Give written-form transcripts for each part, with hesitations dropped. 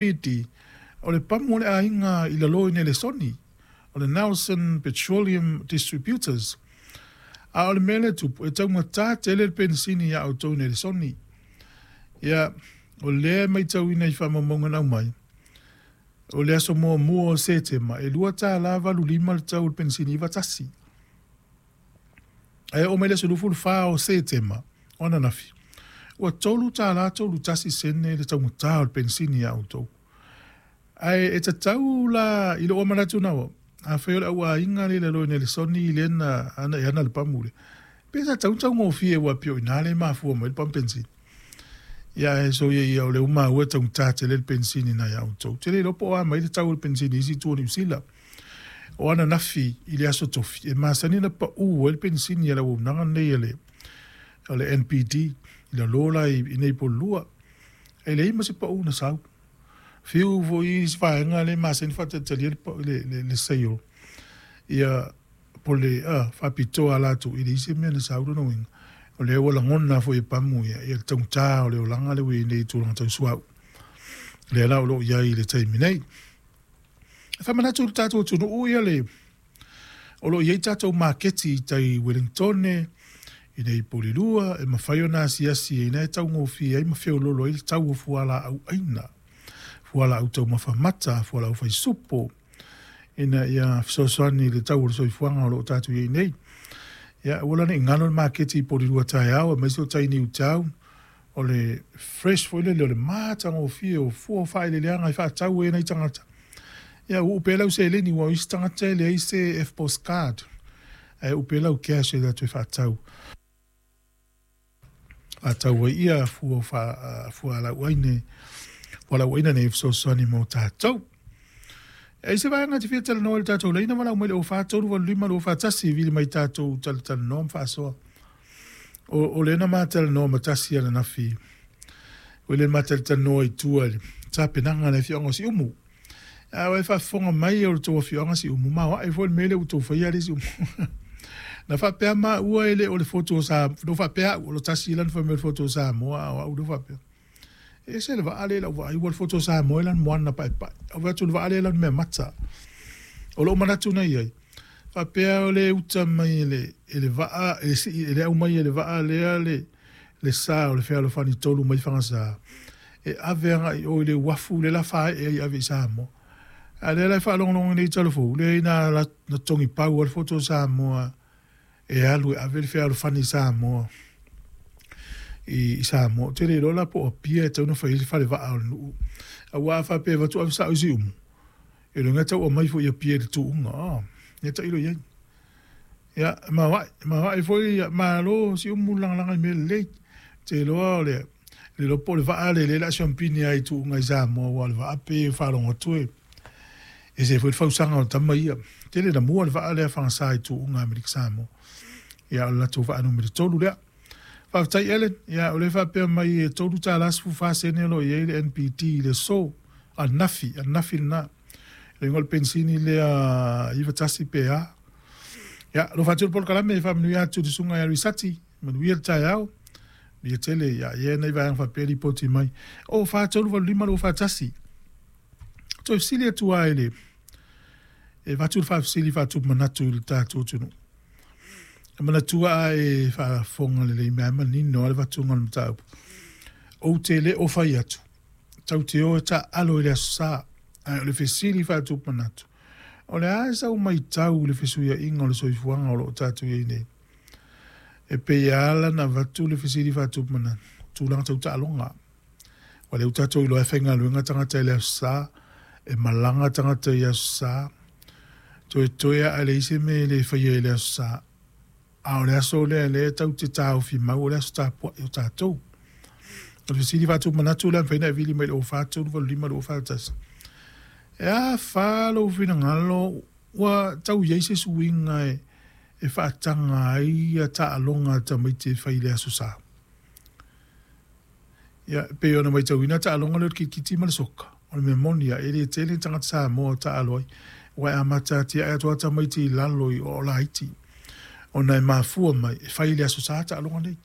NPD, o le pamu o le aiga i lalo i Nelesoni, o le Nelson Petroleum Distributors. A o le mea lea e tupu, e taugata tele le penisini iā outou i Nelesoni. Ia, o lea e matauina i faamaumauga na aumai, o le aso 1 o Setema, e $2.85 le tau o le penisini 91. Ae oo mai le aso 24 o Setema, o ananafi, ua $3.31 le taugata o le penisini ia outou. Ae e tatau la i lou manatu na au, afai o le au aiga lea i lalo i Nelesoni lea na ana e ana le pamu lea, pe sa tatau ona taugofie aua pei o i ina lea e mafua mai ai le pamu penisini. Ia ae soia ia o lea ua maua e taugata tele le penisini na ia outou. Ou te le iloa po o a mai le tau o le penisini i isi itu o Niu Sila. O ananafi i le aso Tofi, e masani ona pau ai le penisini a le auaunaga lenei a le NPD i lalo la i inei i Pololua. E leai ma se pau na sau. Fiu foi isi vaega lea e masani ona faatalitalia le sale ia po o le faapitoa a latou, e leai se mea na sau. Lona uiga, o lea ua lagona foi e pamu ia le taugata o le olaga lea ua i ai nei i tulaga tau suauu. Lea la o lo o i ai i le taimi nei. E faamanatu i le tatou atunuu ia le o lo o i ai tatou maketi i tai i Ueligitone, i inei i Porirua, e mafai ona asiasi i ina e taugofie ai ma feoloolo ai le tau o fualaau aina, fualaau taumafa mata, fualaau faisupo, ina ia fesoasoani i le tau o le soifuaga o lo o tatou i ai nei. Ia, aua la ne i galo le maketi i Porirua taeao, aemaise o tai i Newtown, o le fresh foi lele o le matagofie o fua o faaeleeleaga e faatau ai e nai tagata. Ia uu pea lau seleni aua o isi tagata e leai se EFTPOS card, ae uu pea lau cash e alu atu e faatau. Faatau ai ia fua o fualaau aina nei e fesoasoani mo tatou. E i ai se vaega e te fia talanoa i le tatou laina, valaau mai i le 04 385 241, vili mai tatou talatalanoa ma faasoa. O lea na ma talanoa ma tasi ananafi, o lea ma talatalanoa i tua i le tapenaga a le afioaga o Siumu. A e faafofoga mai o le tou afioaga Siumu, ma o ae foi le mea lea ua outou faia le Siumu. Na faapea maua e le o le fotu o Samoa, na faapea au o le tasi lana fai mai o le fotu o Samoa, a o au lea faapea. E ese le vaa lea i lau vaai, ua le fotu o Samoa e lana moana paepae. Au atu le vaa lea lana mea mata. O lou manatu na i ai, faapea o le uta mai e le vaa, e le aumai e le vaa lea le sa o le fealofani tolu mai Fagasa, e ave agai i o i le uafu lea la faaee ai e ave i Samoa. A lea la e faalogologo nei i Talafou, leai na togipau lava le fotu o Samoa e alu e ave le fealofani i Samoa. I Samoa. Ou te le iloa la po o Apia e tatau ona fai ai le falevaa o le nuu. Aua a faapea e avatu ave sao i Siumu, e iloa e tau aumai foi i Apia i le tuuga. Ia tailo i ai. Ia, maoae foi, malo Siumu lagalaga i mea lelei. Ou te iloa o le iloa po o le vaa lea o le a siampini ai i tuuga i Samoa, aua o le vaa pei e faalogo atu e ese foi le fausaga o tama ia. Tele na mua le vaa lea Fagasa i tuuga Amerika Samoa. Ia, o le latou vaa numera 3 lea. Faafetai Ellen, ia o lea faapea mai e $3.14 o lo o i ai le NPD i le aso, ananafi, ananafi lena. Le igoa o le penisini lea 91 pe a. Ia, alofa atu le polokalame e faamanuia atu i le susuga ia Risati, manuia le taeao. Manuia tele, ia i ai nai vaega faapea lipoti mai. O 4 3 8 5 2 4 1. Toe fesili atu lava i le e avatu le faafesili faatupu manatu i le tatou atunuu. E manatua a e faafofoga lelei mai lava manino lava le avatuga o le mataupu. Ou te le o fai atu, tatou te o e taaalo i le Aso Sa, ae o le fesili faatupu manatu, o le a sau matau i le fesuiaiga o le soifuaga o lo o tatou i ai nei? E pei e ala ona avatu le fesili faatupu manatu, tulaga tau taaloga. Ua lea ua tatou iloa e faigaluega tagata i le Aso Sa, e malaga tagata i Aso Sa, toetoe lava a leai se mea e le faia i le Aso Sa. A o le aso lea lea tatou te taofi mau o le aso tapuai o tatou. O le fesili faatupu manatu lea mafai ona e vili mai i le 04 3 8 5 2 4 1. E a fa lou finagalo ua tau i ai se suiga e faataga ai ia taaloga a tamaiti e fai i le Aso Sa? Ia, e pei ona matauina taaloga lea o le kirikiti ma le soka, o le mea moni lava, e le tele ni tagata Samoa o taalo ai, aua e amata atiae atu lava tamaiti i lalo i o laiti, ona e mafua mai e fai i le Aso Sa taaloga nei.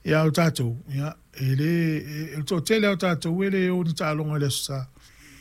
Ia, a o tatou, ia, e le, e, o le toatele lava o tatou e le o i ni taaloga i le Aso Sa.